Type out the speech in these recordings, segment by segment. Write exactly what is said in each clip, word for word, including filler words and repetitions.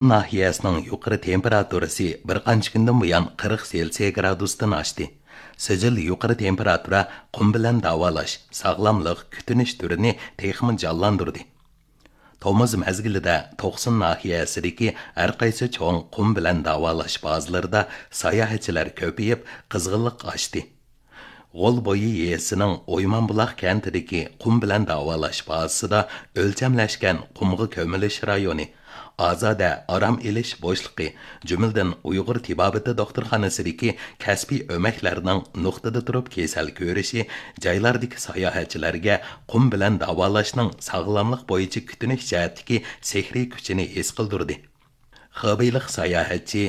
ناھىيەسىنىڭ يۇقىرى تېمپېراتۇرىسى بىر قانچە كۈندىن بۇيان قىرىق سېلسىيە گرادۇستىن ئاشتى. سىجىل يۇقىرى تېمپېراتۇرا قۇم بىلەن داۋالاش، ساغلاملىق، كۈتۈنۈش تۈرىنى تېخىمۇ جانلاندۇردى. تومۇز مەزگىلىدە توقسۇن ناھىيەسىدىكى ھەر قايسى چوڭ قۇم بىلەن داۋالاش بازىلىرىدا ساياھەتچىلەر كۆپىيىپ، قىزغىنلىق ئاشتى. غول بويى يېزىسىنىڭ ئويمانبۇلاق كەنتىدىكى قۇم بىلەن داۋالاش بازىسىدا ئۆلچەملەشكەن قۇمغا كۆمۈلۈش رايونى، ئازادە ئارام ئېلىش بوشلۇقى، جۈملىدىن ئۇيغۇر تېبابىتى دوختۇرخانىسىدىكى كەسپىي ئۆمەكلەرنىڭ نۇقتىدا تۇرۇپ كېسەل كۆرۈشى جايلاردىكى ساياھەتچىلەرگە قۇم بىلەن داۋالاشنىڭ ساغلاملىق بويىچە كۈتۈنۈش جەھەتتىكى سېھرىي كۈچىنى ھېس قىلدۇردى. خېبېيلىق ساياھەتچى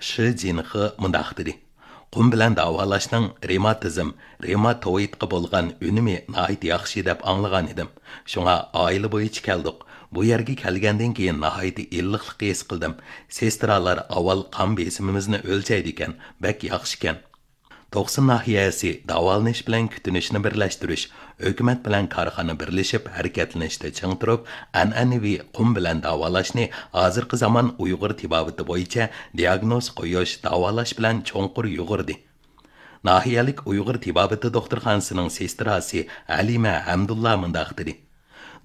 شى جىنخې مۇنداق دېدى: «قۇم بىلەن داۋالاشنىڭ رېماتىزم، رېماتوئىدقا بولغان ئۈنۈمى ناھايىتى ياخشى دەپ ئاڭلىغان ئىدىم. شۇڭا ئائىلە بويىچە كەلدۇق. بۇ يەرگە كەلگەندىن كېيىن ناھايىتى ئىللىقلىق ھېس قىلدىم. سېسترالار ئاۋۋال قان بېسىمىمىزنى ئۆلچەيدىكەن، بەك ياخشىكەن.» توقسۇن ناھىيەسى داۋالىنىش بىلەن كۈتۈنۈشنى بىرلەشتۈرۈش، ھۆكۈمەت بىلەن كارخانا بىرلىشىپ ھەرىكەتلىنىشتە چىڭ تۇرۇپ، ئەنئەنىۋى قۇم بىلەن داۋالاشنى ھازىرقى زامان ئۇيغۇر تېبابىتى بويىچە دىئاگنوز قويۇش، داۋالاش بىلەن چوڭقۇر يۇغۇردى. ناھىيەلىك ئۇيغۇر تېبابىتى دوختۇرخانىسىنىڭ سېستراسى ھەلىمە ھەمدۇللا مۇنداق دېدى: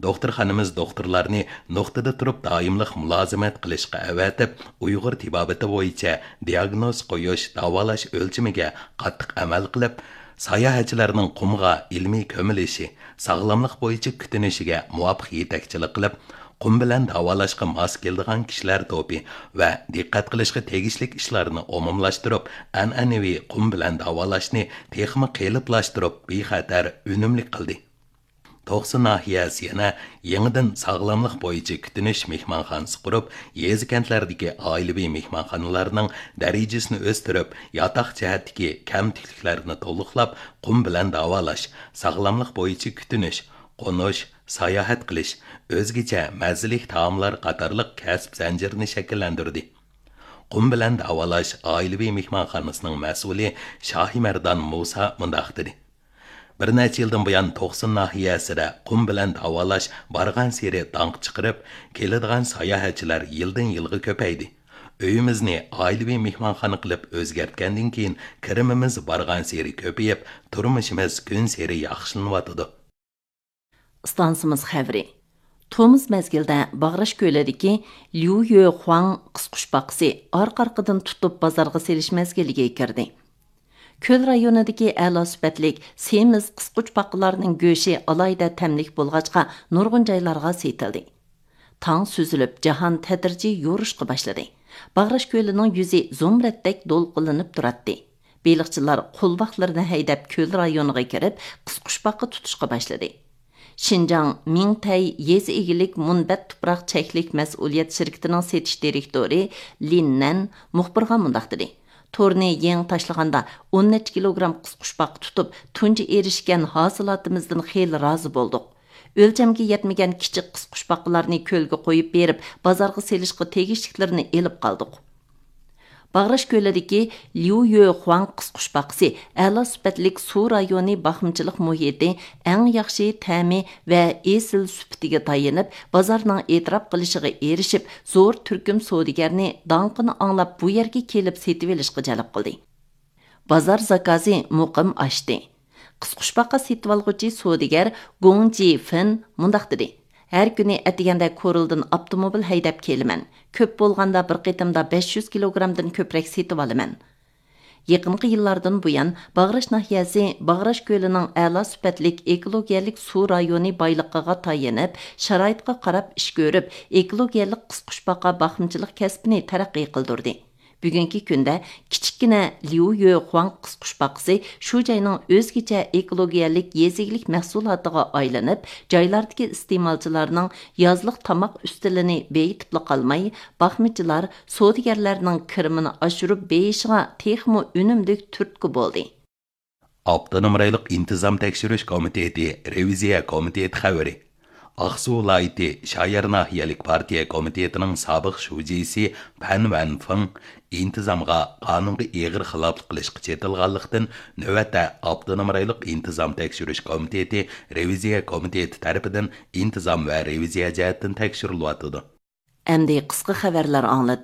«دوختۇرخانىمىز دوختۇرلارنى نۇقتىدا تۇرۇپ دائىملىق مۇلازىمەت قىلىشقا ئەۋەتىپ، ئۇيغۇر تېبابىتى بويىچە دىئاگنوز قويۇش، داۋالاش ئۆلچىمىگە قاتتىق ئەمەل قىلىپ، ساياھەتچىلەرنىڭ قۇمغا ئىلمىي كۆمۈلۈشى، ساغلاملىق بويىچە كۈتۈنۈشىگە مۇۋاپىق يېتەكچىلىك قىلىپ، قۇم بىلەن داۋالاشقا ماس كېلىدىغان كىشىلەر توپى ۋە دىققەت قىلىشقا تېگىشلىك ئىشلارنى ئومۇملاشتۇرۇپ، ئەنئەنىۋى قۇم بىلەن داۋالاشنى تېخىمۇ قېلىپلاشتۇرۇپ، بىخەتەر، ئۈنۈملۈك قىلدى.» توقسۇن ناھىيەسى يەنە يېڭىدىن ساغلاملىق بويىچە كۈتۈنۈش مېھمانخانىسى قۇرۇپ، يېزا-كەنتلەردىكى ئائىلىۋى مېھمانخانىلارنىڭ دەرىجىسىنى ئۆستۈرۈپ، ياتاق جەھەتتىكى كەمتۈكلۈكلەرنى تولۇقلاپ، قۇم بىلەن داۋالاش، ساغلاملىق بويىچە كۈتۈنۈش، قونۇش، ساياھەت قىلىش، ئۆزگىچە مەززىلىك تائاملار قاتارلىق كەسىپ زەنجىرىنى شەكىللەندۈردى. قۇم بىلەن داۋالاش ئائىلىۋى مېھمانخانىسىنىڭ مەسئۇلى شاھىمەردان مۇسا مۇنداق دېدى: «بىر نەچچە يىلدىن بۇيان توقسۇن ناھىيەسىدە قۇم بىلەن داۋالاش بارغانسېرى داڭق چىقىرىپ، كېلىدىغان ساياھەتچىلەر يىلدىن-يىلغا كۆپەيدى. ئۆيىمىزنى ئائىلىۋى مېھمانخانا قىلىپ ئۆزگەرتكەندىن كېيىن، كىرىمىمىز بارغانسېرى كۆپىيىپ، تۇرمۇشىمىز كۈنسېرى ياخشىلىنىۋاتىدۇ.» ئىستانسىمىز خەۋىرى. تومۇز مەزگىلدە باغراش كۆلىدىكى ليۇ يۆخۇاڭ قىسقۇچ باقىسى ئارقا-ئارقىدىن تۇتۇپ بازارغا سېلىش مەزگىلىگە كىردى. كۆل رايونىدىكى ئەلا سۈپەتلىك سېمىز قىسقۇچ باقىلارنىڭ گۆشى ئالاھىدە تەملىك بولغاچقا، نۇرغۇن جايلارغا سېتىلدى. تاڭ سۈزۈلۈپ، جاھان تەدرىجىي يورۇشقا باشلىدى. باغراش كۆلىنىڭ يۈزى زۇمرەتتەك دولقۇنلىنىپ تۇراتتى. بېلىقچىلار قولۋاقلىرىنى ھەيدەپ، كۆل رايونىغا كىرىپ، قىسقۇچ باقا تۇتۇشقا باشلىدى. شىنجاڭ مىڭتەي يېزا ئىگىلىك مۇنبەت تۇپراق چەكلىك مەسئۇلىيەت شىركىتىنىڭ سېتىش دىرېكتورى لىن نەن مۇخبىرغا مۇنداق دېدى: «تورنى يېڭى تاشلىغاندا، ئون نەچچە كىلوگرام قىسقۇچ باقا تۇتۇپ، تۇنجى ئېرىشكەن ھاسىلاتىمىزدىن خېلى رازى بولدۇق. ئۆلچەمگە يەتمىگەن كىچىك قىسقۇچ باقىلارنى كۆلگە قويۇپ بېرىپ، بازارغا سېلىشقا تېگىشلىكلىرىنى ئېلىپ قالدۇق.» باغراش كۆلىدىكى ليۇ يۆخۇاڭ قىسقۇچ باقىسى ئەلا سۈپەتلىك سۇ رايونى باقمىچىلىق مۇھىتى، ئەڭ ياخشى تەمى ۋە ئېسىل سۈپىتىگە تايىنىپ، بازارنىڭ ئېتىراپ قىلىشىغا ئېرىشىپ، زور تۈركۈم سودىگەرنى داڭقىنى ئاڭلاپ، بۇ يەرگە كېلىپ سېتىۋېلىشقا جەلپ قىلدى. بازار زاكازى مۇقىم ئاشتى. قىسقۇچ باقا سېتىۋالغۇچى سودىگەر گوڭ جى فېن مۇنداق دېدى: «ھەر كۈنى ئەتىگەندە كورلىدىن ئاپتوموبىل ھەيدەپ كېلىمەن. كۆپ بولغاندا بىر قېتىمدا بەش يۈز كىلوگرامدىن كۆپرەك سېتىۋالىمەن.» يېقىنقى يىللاردىن بۇيان، باغراش ناھىيەسى باغراش كۆلىنىڭ ئەلا سۈپەتلىك ئېكولوگىيەلىك سۇ رايونى بايلىقىغا تايىنىپ، شارائىتقا قاراپ ئىش كۆرۈپ، ئېكولوگىيەلىك قىسقۇچ باقا باقمىچىلىق كەسپىنى تەرەققىي قىلدۇردى. بۈگۈنكى كۈندە كىچىككىنە ليۇ يۆخۇاڭ قىسقۇچ باقىسى شۇ جاينىڭ ئۆزگىچە ئېكولوگىيەلىك يېزا ئىگىلىك مەھسۇلاتىغا ئايلىنىپ، جايلاردىكى ئىستېمالچىلارنىڭ يازلىق تاماق ئۈستىلىنى بېيىتىپلا قالماي، باقمىچىلار، سودىگەرلەرنىڭ كىرىمىنى ئاشۇرۇپ بېيىشىغا تېخىمۇ ئۈنۈملۈك تۈرتكە بولدى. ئاپتونوم رايونلۇق ئىنتىزام تەكشۈرۈش كومىتېتى رېۋىزىيە كومىتېتى خەۋىرى. ئاقسۇ ۋىلايىتى شايار ناھىيەلىك پارتىيە كومىتېتىنىڭ سابىق شۇجىسى پەن ۋەنفېڭ ئىنتىزامغا، قانۇنغا ئېغىر خىلاپلىق قىلىشقا چېتىلغانلىقتىن، نۆۋەتتە ئاپتونوم رايونلۇق ئىنتىزام تەكشۈرۈش كومىتېتى رېۋىزىيە كومىتېتى تەرىپىدىن ئىنتىزام ۋە رېۋىزىيە جەھەتتىن تەكشۈرۈلۈۋاتىدۇ. ئەمدى قىسقا خەۋەرلەر ئاڭلىتىمىز.